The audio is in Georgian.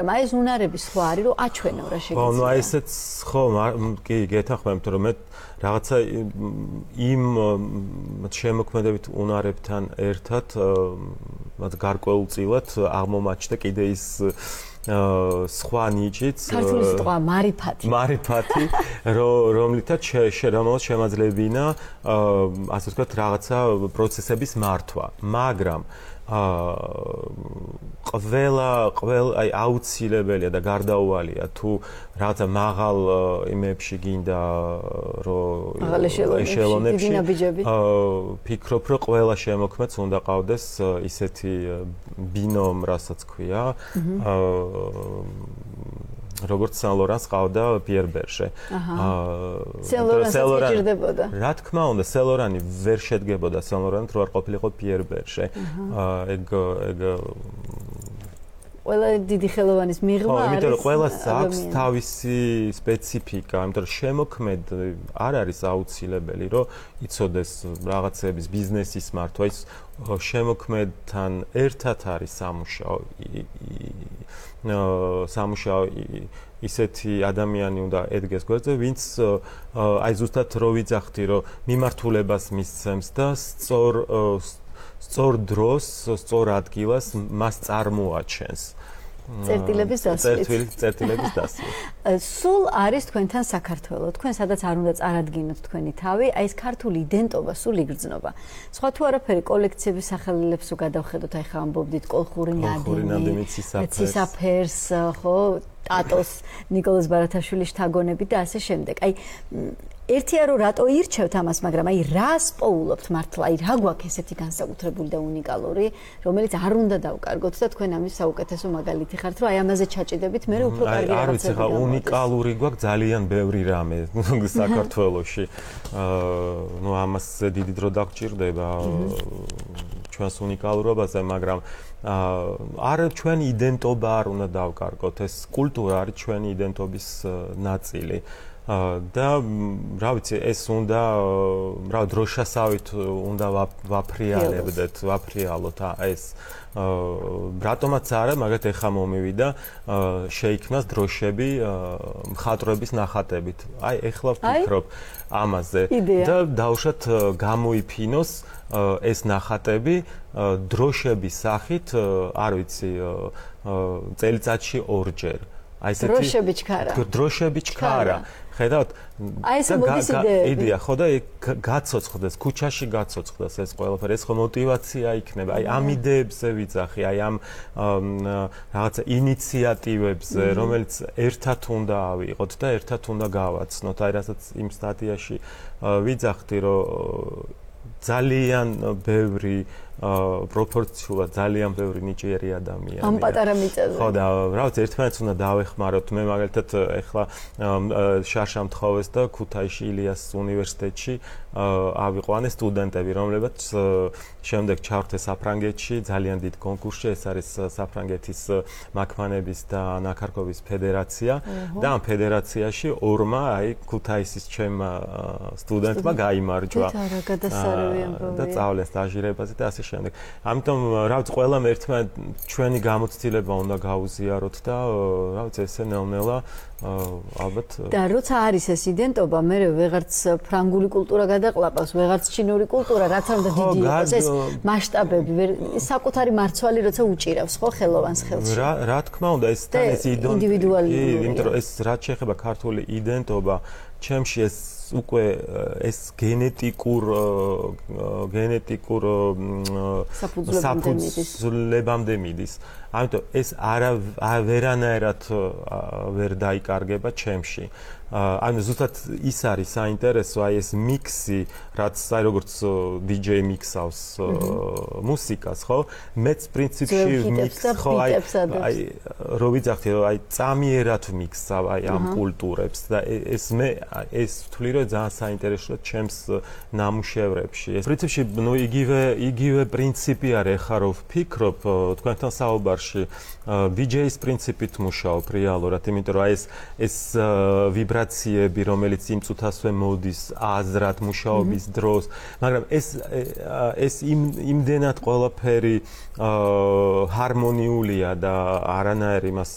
აი ეს უნარების სხვა არის რომ აჩვენო რა შეგიძლია. ხო, აი ესეც ხო, კი გეთანხმებთ რომ მე რაღაცა იმ შემოქმედებით უნარებთან ერთად მათ გარკვეულწილად აღმომაჩნდა კიდე ის სხვა ნიჭიც ქართული სიტყვა მარიფათი რომლითაც შემაძლებინა ასე ვთქვათ რაღაცა პროცესების მართვა მაგრამ ყველა აი აუცილებელია და გარდაუვალია თუ რაღაცა მაღალ იმებში გინდა რომ ეშელონებში ფიქრობ რომ ყველა შემოქმედს უნდა ყავდეს ისეთი ბინომ რასაც ქვია როგორც სან-ლორანს ყავდა პიერ ბერშე. სან-ლორანს ჭირდებოდა. რა თქმა უნდა, სან-ლორანი ვერ შედგებოდა სან-ლორანით, რო არ ყოფილიყო პიერ ბერშე. ეგ ყველა დიდი ხელოვანის მიღმა არის. ხო, იმიტომ რომ ყველას აქვს თავისი სპეციფიკა, იმიტომ რომ შემოქმედ არ არის აუცილებელი, რომ იცოდეს რაღაცების ბიზნესის მართვა, ის შემოქმედთან ერთად არის სამუშაო ისეთი ადამიანი უნდა ედგეს გვერდზე, ვინც აი ზუსტად რო ვიძახდი, რომ მიმართულებას მისცემს და სწორ დროს, სწორ ადგილას მას წარმოაჩენს. წერტილების დასვით. სულ არის თქვენთან საქართველო. თქვენ სადაც არ უნდა წარადგინოთ თქვენი თავი, აი ეს ქართული იდენტობა სულ იგრძნობა. სხვა თუ არაფერი კოლექციების სახელებს გადავხედოთ, აი ხა ამბობდით კოლხური ნადიმი, ცისაფერს, ხო, ტატოს, ნიკოლოზ ბარათაშვილის შთაგონები და ასე შემდეგ. აი ერთია რომ რატო ირჩევთ ამას, მაგრამ აი რას პოულობთ მართლა, აი რა გვაქვს ესეთი განსაკუთრებული და უნიკალური, რომელიც არ უნდა დავკარგოთ და თქვენ ამის საუკეთესო მაგალითი ხართ, რომ აი ამაზე ჩაჭიდებით, მე უფრო კარგი რაღაცები. არ ვიცი ხა უნიკალური გვაქვს ძალიან ბევრი რამე საქართველოში. ნუ ამას დიდი დრო დაგჭირდება ჩვენს უნიკალურობაზე, მაგრამ არ ჩვენი იდენტობა არ უნდა დავკარგოთ, ეს კულტურა არის ჩვენი იდენტობის ნაწილი. და რა ვიცი ეს უნდა რა დროშასავით უნდა ვაფრიალოთ ეს რატომაც არა მაგათ ეხა მომივიდა შეიქმნას დროშები მხატვრების ნახატებით აი ეხლა ვფიქრობ ამაზე და დავუშვათ გამოიფინოს ეს ნახატები დროშების სახით არ ვიცი წელიწადში ორჯერ აი ესეთი დროშები ჩქარა ხედავთ აი ეს მოდის იდეა ხო და გაცოცხლდეს ქუჩაში გაცოცხლდეს ეს ყველაფერი ეს ხო мотиваცია იქნება აი ამ იდეებზე ვიძახი აი ამ რაღაცა ინიციატივებზე რომელიც ერთად უნდა ავიღოთ და ერთად უნდა გავაცნოთ აი რასაც იმ სტატიაში ვიძახდი რომ ძალიან ბევრი პროპორციულად ძალიან ბევრი ნიჭიერი ადამიანი. ამ პატარა მიწაზე. ხო და რა ვიცი, ერთმანეთს უნდა დავეხმაროთ. მე მაგალითად ეხლა შარშამთხოვეს და ქუთაისში ილიას უნივერსიტეტში ავიყვანე სტუდენტები, რომლებიც შემდეგ ჩავრთეს საფრანგეთში ძალიან დიდ კონკურსში, ეს არის საფრანგეთის მანქანების და ნაქარქობის ფედერაცია და ამ ფედერაციაში ორმა აი ქუთაისის ჩემმა სტუდენტმა გაიმარჯვა. და წავლეს სტაჟირებაზე და ასე შემდეგ. ამიტომ რა ვიცი, ყველამ ერთმანეთ ჩვენი გამოცდილება უნდა გაუზიაროთ და რა ვიცი, ესე ნელ-ნელა ალბათ და როცა არის ეს იდენტობა, მე ვეღარც ფრანგული კულტურა გადაყლაპავს, ვეღარც ჩინური კულტურა, რაც არ უნდა დიდი იყოს, ეს მასშტაბები, საკუთარი მარცვალი როცა უჭირავს, ხო, ხელოვანს ხელში. რა თქმა უნდა, ეს თან ეს ინდივიდუალური, იმიტომ რომ ეს რაც შეეხება ქართული იდენტობა, ჩემში ეს უკვე ეს გენეტიკურ საფუძვლებამდე მიდის. ამიტომ ეს ვერანაირად ვერ დაიკარგება ჩემში. ანუ ზუსტად ის არის საინტერესო, აი ეს მიქსი, რაც აი როგორც DJ მიქსავს მუსიკას, ხო? მეც პრინციპში მიქსს ხო აი რო ვიძახდი, რომ აი წამიერად მიქსავ აი ამ კულტურებს და ეს ვთვლი, რომ ძალიან საინტერესოა ჩემს ნამუშევრებში. ეს პრინციპში ნუ იგივე პრინციპი არის, ხა რო ვფიქრობ თქვენთან საუბარში DJ-ის პრინციპით მუშაობ რეალურად, იმიტომ რომ აი ეს ვიბრაციები, რომელიც იმ წუთასვე მოდის აზრად მუშაობის დროს, მაგრამ ეს იმდენად ყველაფერი ჰარმონიულია და არანაირი მას